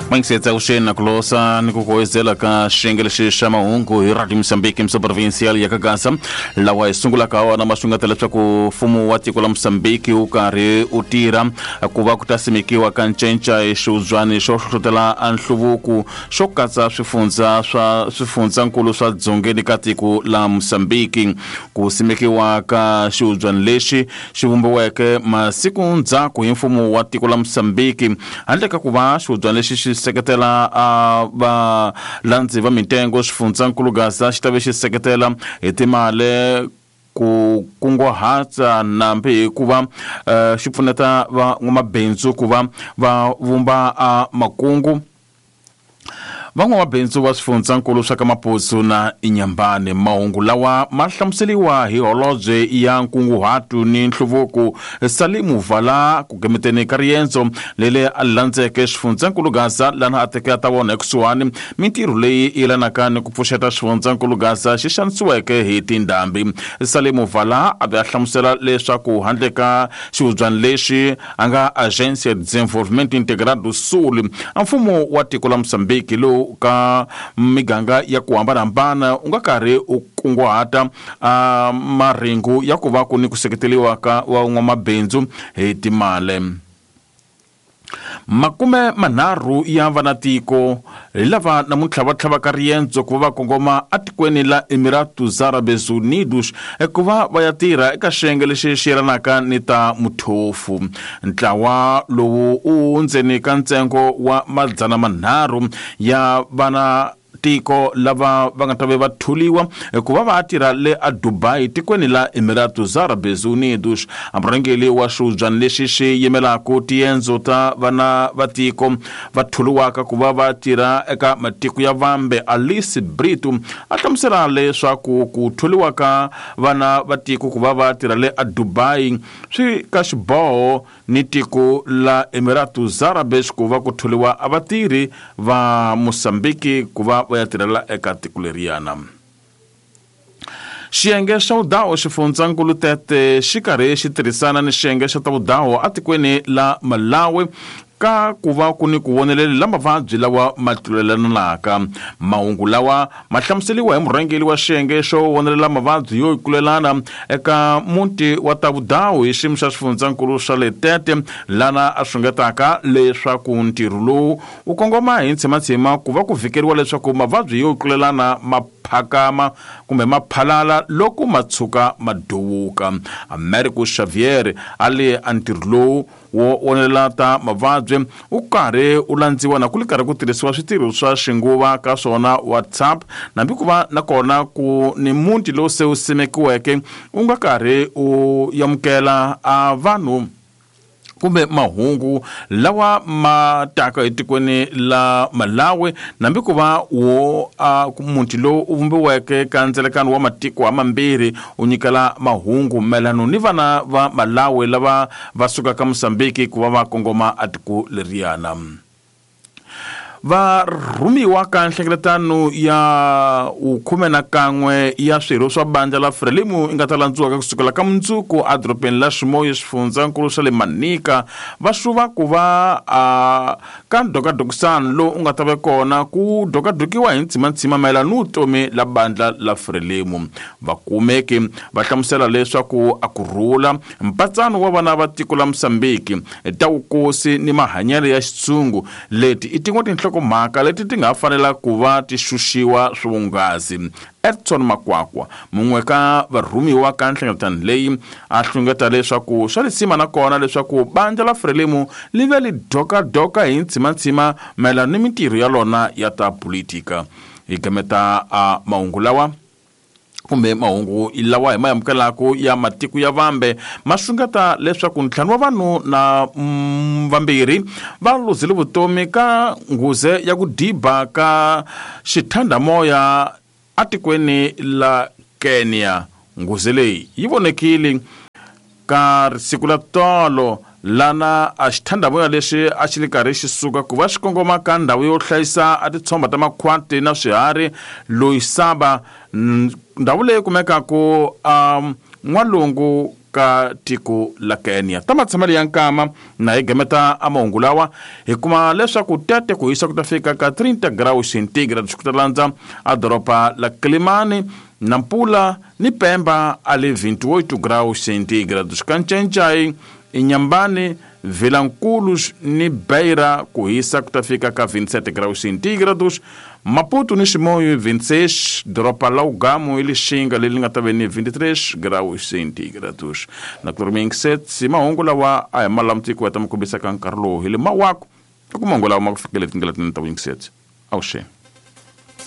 Mangisetsa vuxeni na ku losa ni ku kuwezela ka xiyenge lexi xa mahungu hi Radio Mozambique mso provincial ya Kagasa lawa hi sungulaka wona ma xungeta leswaku mfumo wa tiko la Mozambique wu karhi wu tirha ku va ku ta simekiwa ka ncenca hi xiudzwani xo hlohlotela a nhluvuko xo katsa swifundza swa swifundzankulu swa dzongeni ka tiko la Mozambique. Ku simekiwa ka xiudzwani lexi xi vumbiweke masiku ndzhaku hi mfumo wa tiko la Mozambique handle ka ku va xiudzwani lexi xi seketela a valandzi va mitengo xifundzankulu Gaza xi ta ve xi seketela hi timali ku kunguhata nambi hikuva xi pfuneta van'wamabindzu ku va va vumba a makungu. Van'wamabindzu va swifundzankulu swa ka Mapuzu na Inyambane. Mahungu lawa ma hlamuseliwa hi holobye ya nkunguhato ni nhluvuko Salimu Vala ku gemeteni ka riendzo leri a landzeke xifundzankulu Gaza lana a teke a ta vona ekusuhani mintirho leyi yelanaka ni ku pfuxeta xifundzankulu Gaza xi xanisiweke hi tindhambi. Salimu Vala a ve a hlamusela leswaku handle ka xihubyani lexi a nga Agência de Desenvolvimento Integrado do Sul, a mfumo wa tiko la Mozambique lowu ka miganga ya ku hambanahambana wu nga karhi wu kunguhata a marhengu ya ku va ku ni ku seketeriwa ka van'wamabindzu hi timali. 30 ya vanatiko hi lava namuntlha va tlhavaka riendzo ku va va kongoma etikweni la Emiratos Árabes Unidos ku va va ya tirha eka xiyenge lexi xi yelanaka ni ta muthofu. Ntlawa lowu u ndzeni ka ntsengo wa 300 ya vana tiko lava va nga ta ve va tholiwa ku va va tirha le a Dubai tikweni la Emiratos Árabes Unidos. A murhangeri wa xihubyani lexi xi yimelaka tiendzo ta vana va tiko va tholiwaka ku va va tirha eka matiko ya vambe Alice Brito a hlamusela leswaku ku tholiwa ka vana va tiko ku va va tirha le a Dubai swi ka xiboho ni tiko la Emiratos Árabes ku va ku tholiwa a vatirhi va Mozambique ku va va ya tirhela eka tiko leriyana. Xiyenge xa vudaho xifundzankulu Tete xi karhi xi tirhisana ni xiyenge xa ta vudaho etikweni la Malawi ka ku va ku ni ku voneleli la mavabyi lawa ma tlulelanaka. Mahungu lawa ma hlamuseliwa hi murhangeri wa xiyenge xo vonelela mavabyi yo tlulelana eka muti wa ta vudaho hi xiyimo xa xifundzankulu xa le Tete lana a xungetaka leswaku ntirho lowu wu kongoma hi ntshimatshima ku va ku vhikeriwa leswaku mavabyi yo tlulelana ma phakama kumbe ma phalala loko ma tshuka ma duvuka. Americo Xavier a le a ntirho lowu wo vonelela ta mavabyi wu karhi wu landziwa na ku li karhi ku tirhisiwa switirho swa xinguva ka swona WhatsApp nambi ku va na kona ku ni muti lowu se wu simekiweke wu nga karhi wu amukela a vanhu kumbe mahungu lawa ma taka etikweni la Malawi nambi ku va wo a muti lowu u vumbiweke ka ndzelekano wa matiko hamambirhi wu nyikela mahungu mayelano ni vana va Malawi lava va sukaka Mozambique ku va va kongoma a tiko leriyana. Va rhumiwa ka nhlengeletano ya 11 ya swirho swa bandla la Frelimo yi nga ta landziwaka kusukela ka mundzuku edorobeni la Ximoyo xifundzankulu xa le Manica va xuva ku va a ka ndhokadhokisano lowu u nga ta ve kona ku dhokadokiwa hi ntshimanthsima mayelana ni vutomi la bandla la Frelimo. Vakumeki va hlamusela leswaku a ku rhula mpatsano wa vana va tiko la Mozambique ta vukosi ni mahanyelo ya xitshungu leti i tin'we tinhlokomhaka leti ti nga fanela ku va ti xuxiwa swivunghasi. Edson Makwakwa mun'we ka varhumiwa ka nhlengeletano leyi a hlungeta leswaku swa lisima na kona leswaku bandla la Frelimo li ve li dhokadoka hi ntshimanthsima mayelana ni mintirho ya lona ya ta politika. Hi gameta a mahungu lawa kumbe mahungu lawa hi ma amukelaka ya matiko ya vambe ma xungeta leswaku 5 wa vanhu na vambirhi va luzile vutomi ka nghuze ya ku diba ka xithandamoya etikweni la Kenya. Nghuze leyi yi vonekile ka siku la tolo lana a xithandamoya lexi a xi li karhi xi suka ku va xi kongoma ka ndhawu yo hlayisa a titshomba ta makhwati na swiharhi Loisaba, ndhawu leyi kumekaka a n'walungu ka tiko la Kenya. Ta matshamelo ya nkama na hi gameta a mahungu lawa hi kuma leswaku tete ku hisa ku ta fika ka 30 graus centigrade ku ta landza a doroba la Kilimani, Nampula ni Pemba a le 28 graus centigrade. Kancencai, Inhambane, Vilanculos ni Beira ku hisa ku ta fika ka 27 graus centígrados, Maputo ni Chimoio 26, doroba la Ugamo e Lixinga leri nga ta ve ni 23 graus centígrados. Na ku 7 mahungu lawa a hi malamutiko ya ta mi kombisa ka nkarhi lowu hi le mawako loko mahungu lawa ma ku fikele tindlela tinene ta wing 7 awuxeni.